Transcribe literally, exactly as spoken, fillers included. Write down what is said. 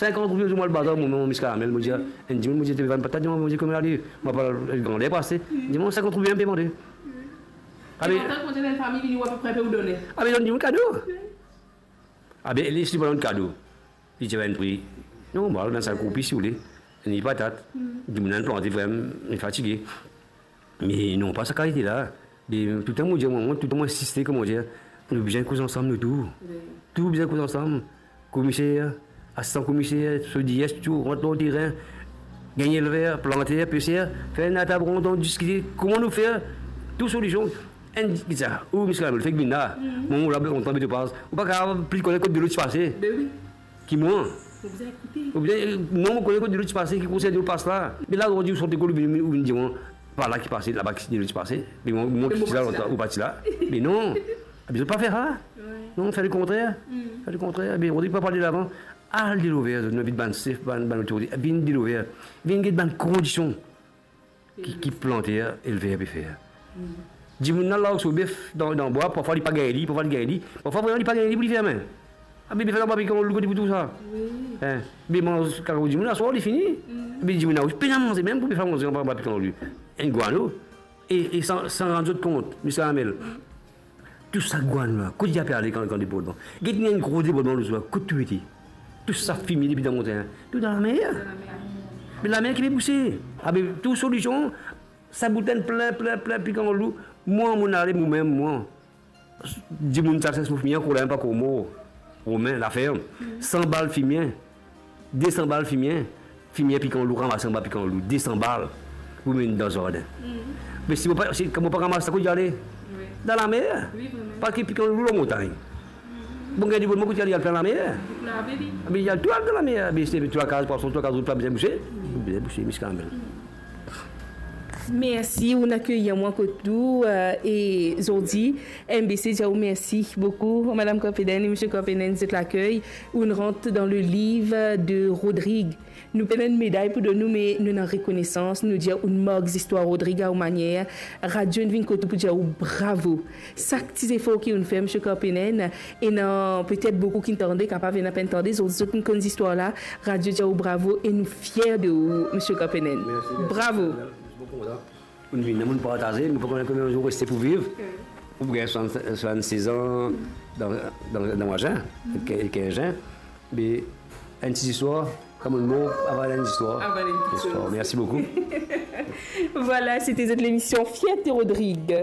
Sinkant roupi, mo al bazar, mo, mo, Miss Karamel, mo dir, enn dimoun, mo dir, to pe vann patat, mo dir, kouma ale, mo pa grander pase. Li dir, mo, sinkant roupi, mo pe mande. Abe, kontan, kontan, enn fami vini, ou apepre pe ou done. Abe, donn dimoun kado. Abe, li, si li pa donn kado, li ti ena enn pri normal, vennsenk roupi, si ou le. Ni patat. Dimoun inn plante, vremem, li fatige. Me non, pa sa kalite la. Me toultan mo dir, mwa, mwa, toultan mo insiste, kouma dir, nou bizin koz ansam, nou tou. Wi. Tou bizin koz ansam. Komiser, asistan komiser, so D S, tou, rant lor terin, gagn elver, planter, peser, fer enn latab rond, diskite, kouma nou fer, trouv solision. Enn, ki sa, ou, Miss Karamel, fek vinn la. Mwa, mo la, mo tann Betopaz. Ou pa kapav pli kone kot delo ti pase. Be wi. Ki mwa. Ou bizin ekoute. Ou bizin, non, mo kone kot delo ti pase, ki konsey delo pas la. Me la, ou dir, ou sot lekol, ou vinn, ou vinn dir mwa, pa la ki pase, laba ki delo ti pase. Me mwa, mwa ki ti la lontan, ou pa ti la. Me non. Abe, zot pa fer sa. Wi. Non, fer lekontrer. Fer lekontrer. Abe, Rodrig pa pale lavan. Al delo ver, zot, nou invit bann sef, bann, bann lotorite. Vinn delo ver. Vinn get bann kondision ki, ki planter, elver pe fer. Dimoun la, larg so bef dan, dan bwa, parfwa li pa gagn li, parfwa li gagn li, parfwa vremem li pa gagn li pou li ferme. Abe, bef la anba pikan lou, kot li pou trouv sa? Wi. Hein? Be manz kakaou dimoun, aswar li fini. Be dimoun la osi pena manze mem pou bef la manze anba, anba pikan lou. Enn gwano. E, e san, san rann zot kont, Miss Karamel. Tou sa gwano la, kot li ape ale kan, kan debordman? Get ena enn gro debordman lor zot la, kot tou ete? Tou sa fime depi dan montin, tou dan lamer. Dan lamer. Me lamer ki pe bouse. Abe, trouv solision, sa boutenn plin, plin, plin, pikan lou. Mwa, mo ale, momem, mwa. Dimoun ti al sers mo fimie, ankor la, pa ankor mor. Romin, laferm. San bal fimie. De san bal fimie, fimie pikan lou, ranmase anba pikan lou, de san bal pou mennen dan zardin. Me si mo pa, si, kan mo pa ramas sa, kot li ale? Wi. Dan lamer. Wi, vremem. Parski pikan lou lor montagn. Bon, gagn debordman, kot li ale? Al plin lamer. Pou lave li. Abe, li al tou al dan lamer. Abe, si tou lakaz pwason, tou lakaz rod pa bizin bouse, bizin bouse, Miss Karamel. Mersi, ou'nn akeyir mwa kot nou, euh, e zordi, M B C dir ou mersi boukou, Madam Corpenen e Misie Corpenen, zot lakey. Ou'nn rant dan le liv de Rodrig. Nou pena enn meday pou donn ou, me nou ena rekonesans, nou dir ou'nn mark zistwar Rodrig a ou manier. Radio inn vinn kot ou pou dir ou bravo. Sak ti zefor ki ou'nn fer, Misie Corpenen, ena petet boukou ki'nn tande, kapav ena pa'nn tande, zot, zot inn konn zistwar la. Radio dir ou bravo e nou fier de ou, Misie Corpenen. Mersi, mersi. Bravo. Mersi boukou, madam. Ou'nn vini, ou'nn partaze, nou pa kone konbien zour reste pou viv. Wi. Ou gagn swasann, swasann-sez an dan, dan, dan mwa zin, kinz, kinz zin. Me enn ti zistwar, kan mo'nn mor, avan enn zistwar. Avan enn zistwar. Mersi boukou. Vwala, sete zot lemision Fierté Rodrig.